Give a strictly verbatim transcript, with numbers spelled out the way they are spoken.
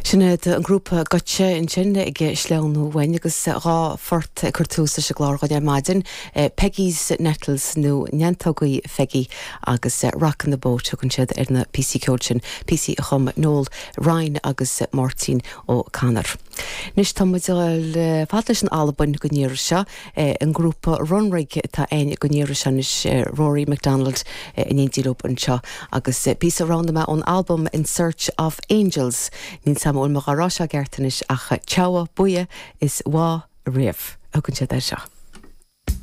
Sin iad an grúpa Goitse ansin ag sleamhnú uainn agus dhá phort ag cur tús leis an gclár againn ar maidin, Peggy's Nettles nó Neantógaí Pheigí agus Rockin' the Boat tugann siad ar na píosaí ceoil sin, píosaí a chum Noel Ryan agus Máirtín O'Connor. Anois tá muid ag dul fad leis an Albain don iarraidh seo an grúpa Runrig atá againn don iarraidh seo anois Rory MacDonald in éindí leo anseo agus píosa roghnaithe mé ón album In Search of Angels. Níl 's a'm an bhfuil mé á rá seo ceart anois ach Teabha buia is bhá riamh. Thugann siad air seo.